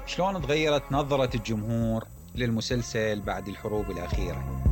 شلون تغيرت نظرة الجمهور للمسلسل بعد الحروب الأخيرة؟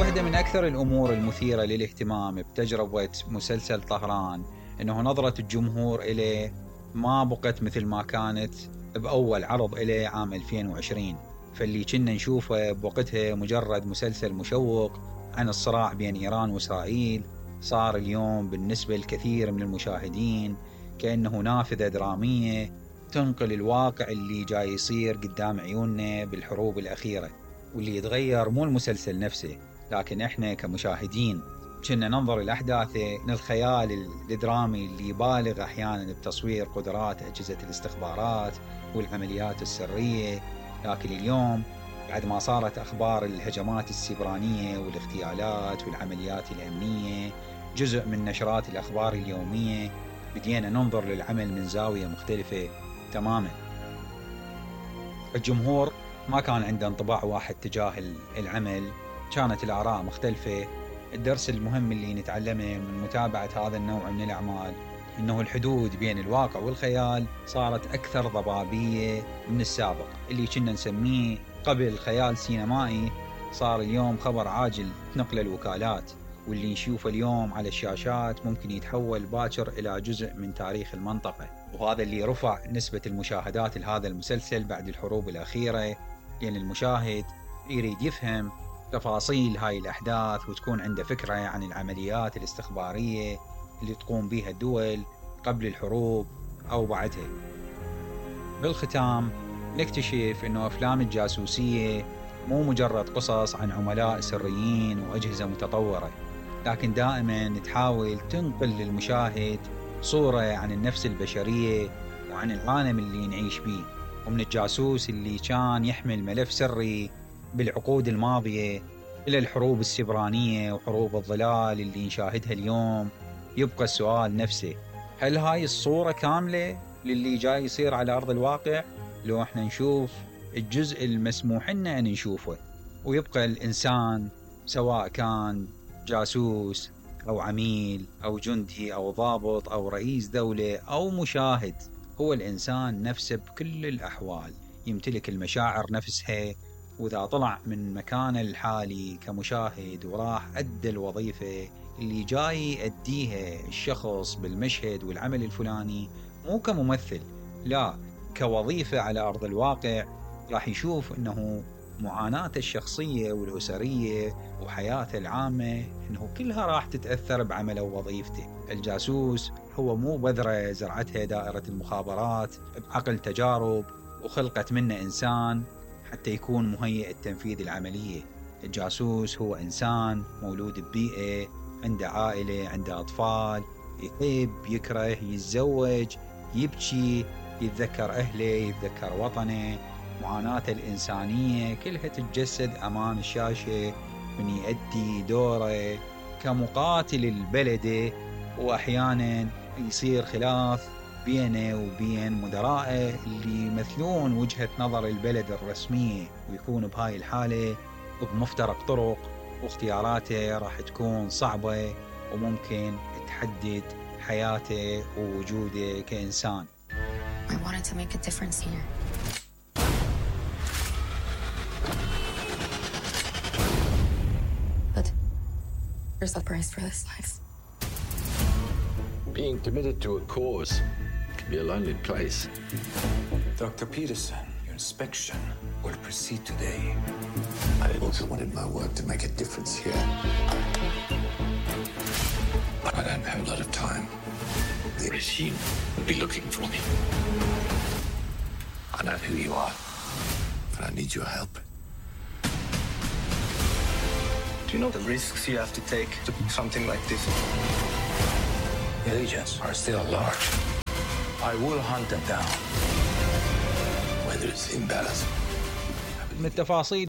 واحدة من أكثر الأمور المثيرة للاهتمام بتجربة مسلسل طهران إنه نظرة الجمهور إليه ما بقت مثل ما كانت بأول عرض إليه عام 2020. فاللي كنا نشوفه بوقتها مجرد مسلسل مشوق عن الصراع بين إيران وإسرائيل، صار اليوم بالنسبة لكثير من المشاهدين كأنه نافذة درامية تنقل الواقع اللي جاي يصير قدام عيوننا بالحروب الأخيرة. واللي يتغير مو المسلسل نفسه، لكن إحنا كمشاهدين كنا ننظر الأحداث من الخيال الدرامي اللي يبالغ أحيانا بتصوير قدرات أجهزة الاستخبارات والعمليات السرية. لكن اليوم بعد ما صارت أخبار الهجمات السبرانية والاغتيالات والعمليات الأمنية جزء من نشرات الأخبار اليومية، بدينا ننظر للعمل من زاوية مختلفة تماما. الجمهور ما كان عنده انطباع واحد تجاه العمل، كانت الآراء مختلفة. الدرس المهم اللي نتعلمه من متابعة هذا النوع من الأعمال إنه الحدود بين الواقع والخيال صارت أكثر ضبابية من السابق. اللي كنا نسميه قبل خيال سينمائي صار اليوم خبر عاجل تنقل الوكالات، واللي نشوفه اليوم على الشاشات ممكن يتحول باكر إلى جزء من تاريخ المنطقة. وهذا اللي رفع نسبة المشاهدات لهذا المسلسل بعد الحروب الأخيرة، لأن المشاهد يريد يفهم تفاصيل هاي الأحداث وتكون عنده فكرة عن العمليات الاستخبارية اللي تقوم بها الدول قبل الحروب أو بعدها. بالختام نكتشف إنه أفلام الجاسوسية مو مجرد قصص عن عملاء سريين وأجهزة متطورة، لكن دائما تحاول تنقل للمشاهد صورة عن النفس البشرية وعن العالم اللي نعيش بيه. ومن الجاسوس اللي كان يحمل ملف سري بالعقود الماضية إلى الحروب السبرانية وحروب الظلال اللي نشاهدها اليوم، يبقى السؤال نفسه: هل هاي الصورة كاملة للي جاي يصير على أرض الواقع؟ لو احنا نشوف الجزء المسموح لنا أن نشوفه، ويبقى الإنسان سواء كان جاسوس أو عميل أو جندي أو ضابط أو رئيس دولة أو مشاهد، هو الإنسان نفسه بكل الأحوال يمتلك المشاعر نفسها. وإذا طلع من مكانه الحالي كمشاهد وراح أدى الوظيفة اللي جاي يأديها الشخص بالمشهد والعمل الفلاني، مو كممثل، لا كوظيفة على أرض الواقع، راح يشوف أنه معاناته الشخصية والأسرية وحياته العامة أنه كلها راح تتأثر بعمله ووظيفته. الجاسوس هو مو بذرة زرعتها دائرة المخابرات بعقل تجارب وخلقت منه إنسان حتى يكون مهيئ لتنفيذ العملية. الجاسوس هو إنسان مولود ببيئة، عنده عائلة، عنده أطفال، يحب، يكره، يتزوج، يبكي، يتذكر أهله، يتذكر وطنه. معاناته الإنسانية كلها تتجسد أمام الشاشة من يؤدي دوره كمقاتل البلد. وأحيانا يصير خلاف بينه وبين مدرائه اللي يمثلون وجهة نظر البلد الرسمية، ويكون بهاي الحالة بمفترق طرق، واختياراته راح تكون صعبة وممكن تحدد حياته ووجوده كإنسان. I wanted to make a difference here. But there's a price for this life. Being committed to a cause can be a lonely place. Dr. Peterson, your inspection will proceed today. I also wanted my work to make a difference here. But I don't have a lot of time. The regime will be looking for me. I know who you are, but I need your help. Do you know the risks you have to take to do something like this? The agents are still large. I will hunt them down. Whether it's in Dallas. من التفاصيل